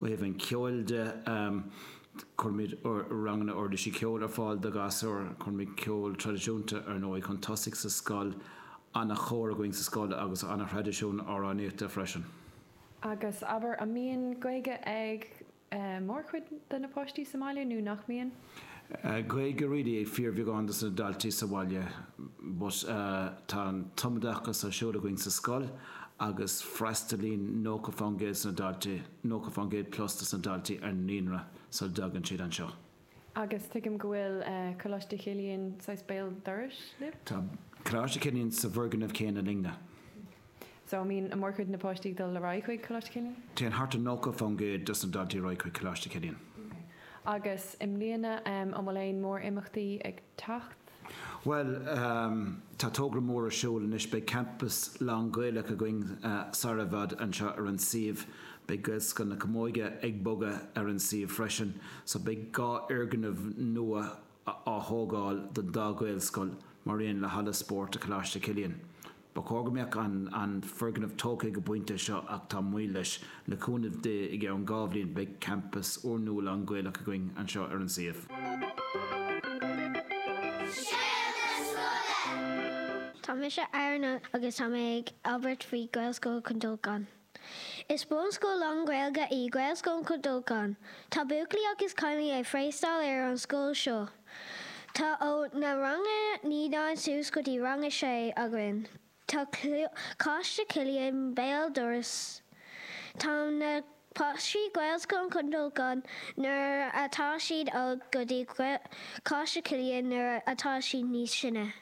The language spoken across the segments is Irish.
Ó thaobh an cheoil de, cuirimid ranganna uirlisí ceoil ar fáil do ghasúir, cuirimid ceol traidisiúnta, ar ndóigh, chun tosaigh sa scoil, ana-chór againn sa scoil agus ana-thraidisiún amhránaíochta freisin. Agus abair, an mbíonn Gaeilge ag mórchuid de na páistí sa mbaile nó nach mbíonn? Gaeilge really ag fíorbheagán dos na daltaí sa bhaile but tá an tumoideachas ar siúl againn sa scoil agus freastalaíonn 90% dos na daltaí, 90% plus dos na daltaí ar an naíonra sula dtagann siad anseo. Agus tuigim go bhfuil Coláiste Chilliain saghas béal dorais libh? Tá Coláiste Chilliain sa bhfoirgneamh céanna linne. So an mbíonn mórchuid na páistí ag dul ar aghaidh chuig Coláiste Chilliain? Téann thart ar 90% dos na daltaí ar aghaidh chuig Coláiste Chilliain. Ok. Agus i mbliana, an bhfuil aon mór-imeachtaí ag teacht? Bhuel, tá togra mór ar siúl anois. Beidh campas lán-Ghaelach againn sar i bhfad anseo ar an suíomh. Beidh Gaelscoil na Camóige ag bogadh ar an suíomh freisin. So beidh 2 fhoirgneamh nua á thógáil don dá Ghaelscoil mar aon le halla spóirt do Choláiste Chilliain. Ba chóir go mbeadh an foirgneamh tógtha ag an bpointe seo ach tá moill leis. Le cúnamh Dé i gceann 2 bhliain beidh campas úrnua lán-Ghaelach againn anseo ar an suíomh. Scéal na Scoile! Tá mise Aaron agus tá mé ag abairt faoi Gaelscoil Chluain Dolcáin. Is bunscoil lán-Ghaeilge í Gaelscoil Chluain Dolcáin. Tá buachaillí agus cailíní ag freastal ar an scoil seo. Tá ó na ranganna naíonáin suas go dtí rang a sé againn. Tá Coláiste Chilliain béal dorais. Tá na páistí Gaelscoil Chluain Dolcáin nuair atá siad óg go dtí Coláiste Chilliain nuair atá siad níos sine.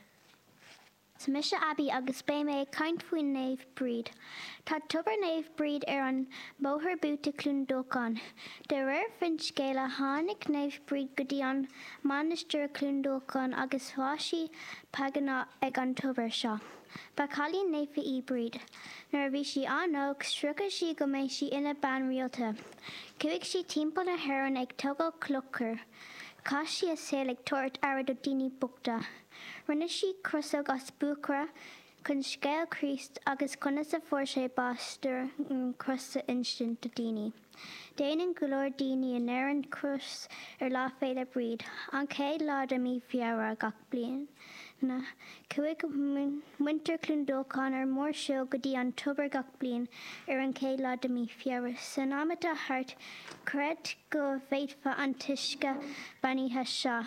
Is mise Abby agus beidh mé ag caint faoi Naomh Bríd. Tá Tobar Naomh Bríd ar an mbóthar buaite Cluain Dolcáin. De réir finscéala tháinig Naomh Bríd go dtí an mainistir i Cluain Dolcáin agus bhaist sí págánach ag an tobar seo. Ba cailín naofa í Bríd. Nuair a bhí sí an-óg, sroicheadh sí go mbeidh sí ina bean rialta. Chuaigh sí timpeall na hÉireann ag tógáil clochair. Chaith sí a saol ag tabhairt aire do daoine bochta. Rinne sí crosóg as buachaire chun scéal Chríost agus conas a fuair sé bás ar an gcros a insint do daoine. Déanann go leor daoine in Éirinn cros ar Lá Féile Bríd, an chéad lá de mí Feabhra gach bliain. Chuaigh muintir Chluain Dolcáin ar mórshiúl go dtí an tobar gach bliain ar an chéad lá de mí Feabhra. San am atá thart, chreid go bhféadfadh an t-uisce beannaithe seo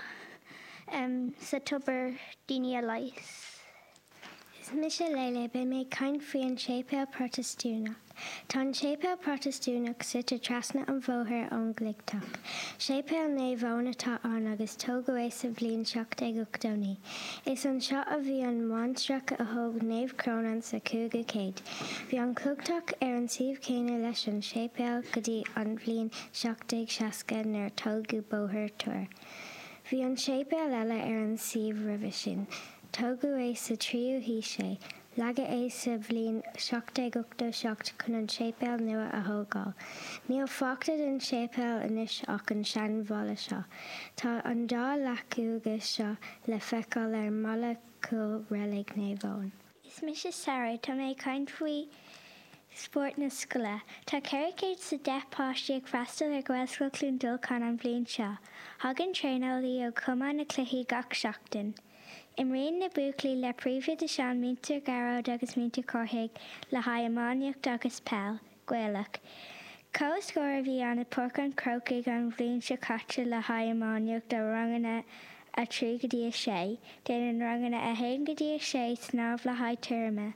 sa tobar daoine a leigheas. Is mise Lele, beidh mé ag caint faoi an Séipéal Protastúnach. Tá an Séipéal Protastúnach suite trasna an bhóthair ón gCloigtheach. Séipéal Naomh Eoin atá ann agus tógadh é sa bhliain 1789. Is anseo a bhí an mhainistreach a thóg Naomh Crónán sa 5ú céad. Bhí an Cloigtheach ar an suíomh céanna leis an séipéal go dtí an bhliain 1760 nuair a tógadh Bóthar Tuair. Bhí an séipéal eile ar an suíomh roimhe sin. Tógadh é sa tríú haois é. Leagadh é sa bhliain 1787 chun an séipéal nua a thógáil. Níl fágtha den séipéal anois ach an seanbhalla seo. Tá an dá leac uaighe seo le feiceáil ar an mballa cúil Reilig Naomh Eoin. Is mise Sarah, tá mé ag caint faoi spórt na scoile. Tá 410 páistí ag freastal ar Ghaelscoil Chluain Dolcáin an bhliain seo. Thagann traenálaí ó Chumann na Cluichí gach seachtain. Imríonn na buachaillí le Príomhoide Seán, Múinteoir Gearóid agus Múinteoir Cárthaigh le haghaidh iománaíocht agus peil. Gaelach. Comhscór a bhí ann i Páirc an Chrócaigh an bhliain seo caite le haghaidh iománaíocht do ranganna 3 go dtí 6. Déanann ranganna 1 go dtí 6 snámh le haghaidh tuirme.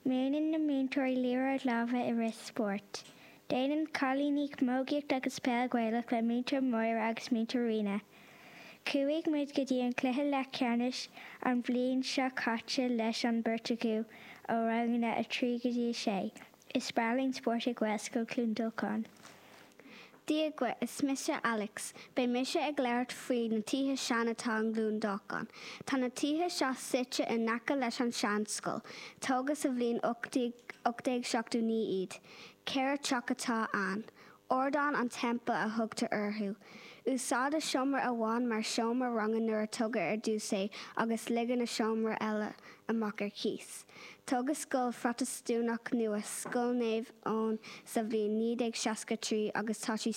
Múineann na múinteoirí liathróid láimhe i rith spóirt. Déanann cailíní camógaíocht agus peil Ghaelach le Múinteoir Máire agus Múinteoir Ríona. Chuaigh muid go dtí an cluiche leathcheannais an bhliain seo caite leis an beirt acu ó ranganna 3 go dtí 6. Is breá linn spórt i Gaelscoil Chluain Dolcáin. Dia dhuit, is mise Alex. Beidh mise ag labhairt faoi na tithe sean atá i gCluain Dolcáin. Tá na tithe seo suite in aice leis an seanscoil. Tógadh sa bhliain 1879 iad. Ceithre teach atá ann. Ardáin an Teampaill a thugtar orthu. Úsáideadh seomra amháin mar seomra ranga nuair a tógadh ar dtús é agus ligeadh na seomraí eile amach ar cíos. Tógadh scoil Phrotastúnach nua, Scoil Naomh Eoin sa bhliain 1963 agus tá sí.